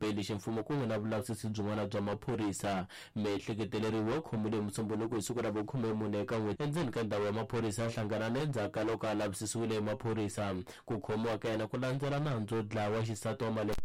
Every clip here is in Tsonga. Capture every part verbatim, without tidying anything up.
Beli ximfumo kun'we na vulavisisi byin'wana bya maphorisa. Miehleketeleriwa u khomiwile hi Musumbhunuko hi siku ra vukhumemune eka n'hweti endzeni ka ndhawu ya maphorisa ya Hlanganani endzhaku ka loko a lavisisiwile hi maphorisa. Ku khomiwa ka yena ku landzela nandzu wo dlaya wa xisati wa malembe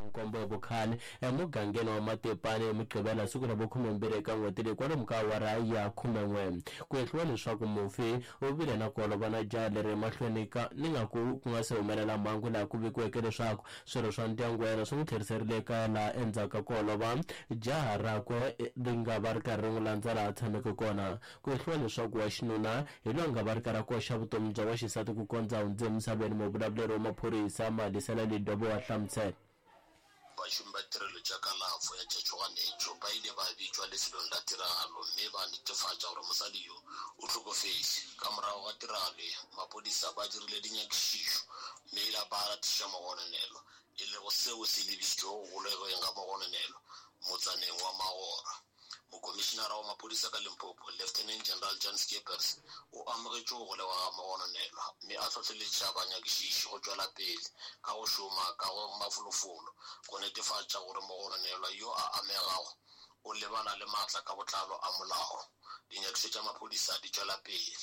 nkombo hi vukhale emugangeni wa Matepani hi Mugqivela siku ra vukhumembirhi eka n'hweti leyi kwalomu ka awara ya khumen'we. Ku hehliwa leswaku mufi u vile na ku holova na jaha leri emahlweni ka ni nga ku ku nga se humelela mhangu laha ku vikiweke leswaku swirho swa ndyangu wa yena swi n'wi tlheriserile ekaya laha endzhaku ka ku holova jaha rakwe ri nga va ri karhi ri n'wi landza laha a tshameke kona. Ku hehliwa leswaku wa xinuna hi loyi a nga va ri karhi a koxa vutomi bya wa xisati ku kondza a hundze emisaveni. Muvulavuleri wa maphorisa Malisela Lidobo wa hlamusela. Bašomi ba tirelo tša kalafo ya tša tšhoganetšo ba ile ba bitšwa lefelong la tiragalo mme ba netefatša gore mosadi yo o hlokofetše. Ka morago ga tiragalo ye, maphodisa ba dirile dinyakišišo mme ba latišiša mogononelwa, e lego seo se lebišitšego go golegweng ga mogononelwa motsaneng wa Magora. Mokomišinara wa maphodisa ka Limpopo, Lieutenant General Jan Scheepers, o amogetše go golegwa ga mogononelwa mme a hlohleletša banyakišiši go tšwela pele ka go šoma ka go mafolofolo go netefatša gore mogononelwa yo a amegago o lebana le maatla ka botlalo a molao. Dinyakišišo tša maphodisa di tšwela pele.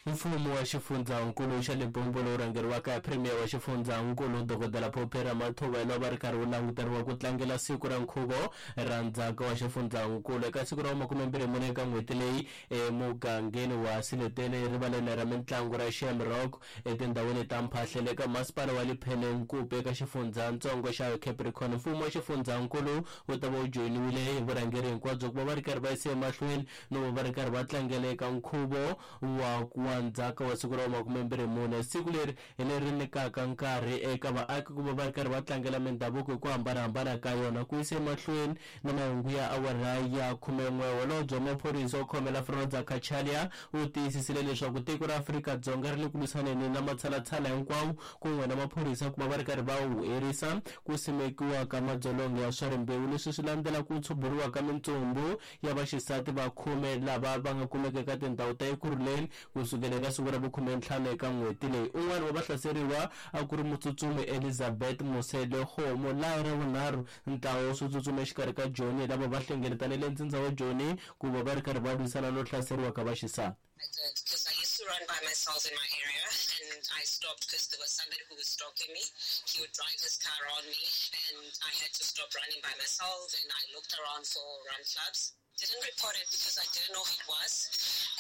Mfumo wa xifundzankulu xa Limpopo lowu rhangeriwaka hi Premier wa xifundzankulu Dokodela Phophi Ramathuba va ri karhi wu languteriwa ku tlangela siku ra nkhuvo ra ndzhaka wa xifundzankulu eka siku ra makumembirhi mune eka n'hweti leyi emugangeni wa Sileteni rivaleni ra mintlangu ra Shamrock etindhawini ta Mphahlele eka masipala wa Lepelle-Nkumpi eka xifundzatsongo xa Capricorn. Mfumo wa xifundzankulu wu ta va wu joyiniwile hi vurhangeri hinkwabyo ku va va ri karhi va yisa emahlweni no va va ri karhi va tlangela eka nkhuvo wa wa ndzhaka wa siku ra makumembirhi mune. Siku leri hi leri nyikaka nkarhi eka vaaki ku va va ri karhi va tlangela mindhavuko hi ku hambanahambana ka yona. Ku yisa emahlweni na mahungu ya awara ya khumen'we, holobye wa maphorisa wo khomela Froza Cachalia u tiyisisile leswaku tiko ra Afrika-Dzonga ri le ku lwisaneni na matshalatshala hinkwawo kun'we na maphorisa ku va va ri karhi va wu herisa ku simekiwa ka madzolonga ya swa rimbewu. Leswi swi landzela ku tshuburiwa ka mintsumbu ya vaxisati va khume lava va nga kumeka eka tindhawu ta Ekurhuleni kusukela eka siku ra vukhume ntlhanu eka n'hweti leyi. Un'wana wa vahlaseriwa a ku ri mutsutsumi Elizabeth Moselekgomo. Laha ra vunharhu ntlawa wa switsutsumi exikarhi ka Joni lava va hlengeletanile ntsindza wa Joni ku va va ri karhi va lwisana no hlaseriwa ka vaxisati. I did, because I used to run by myself in my area, and I stopped because there was somebody who was stalking me. He would drive his car on me, and I had to stop running by myself, and I looked around for run clubs. Didn't report it because I didn't know who it was,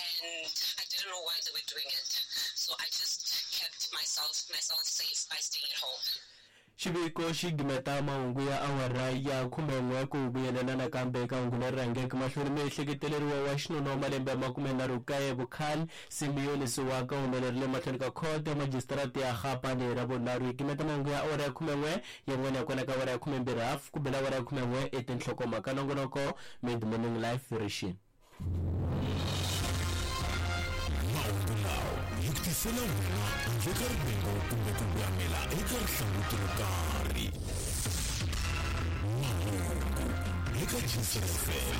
and I didn't know why they were doing it. So I just kept myself myself safe by staying at home. Xiviko xi gimeta mahungu ya awara ya khumen'we. Ku vuyelela nakambe eka hungu leri rhangeke mahlweni, miehleketeleriwa wa xinuna wa malembe ya makumenharhu kaye vukhale Simiyoni Siwaka u humelerile mahlweni ka khoto ya majisitarata ya Gapane ra vunharhu. Hi gimeta mahungu ya awara ya khumen'we, yin'wana ya kona ka awara ya khumembirhi hafu ku bela awara ya khumen'we i tinhlokomhaka. Nongonoko Mid Morning Life rixini. Mahungu lawa hi ku tisela wena handle ka rivengo kumbe ku voyamela eka rihlanguti ro karhi. Mahungu eka G C F M.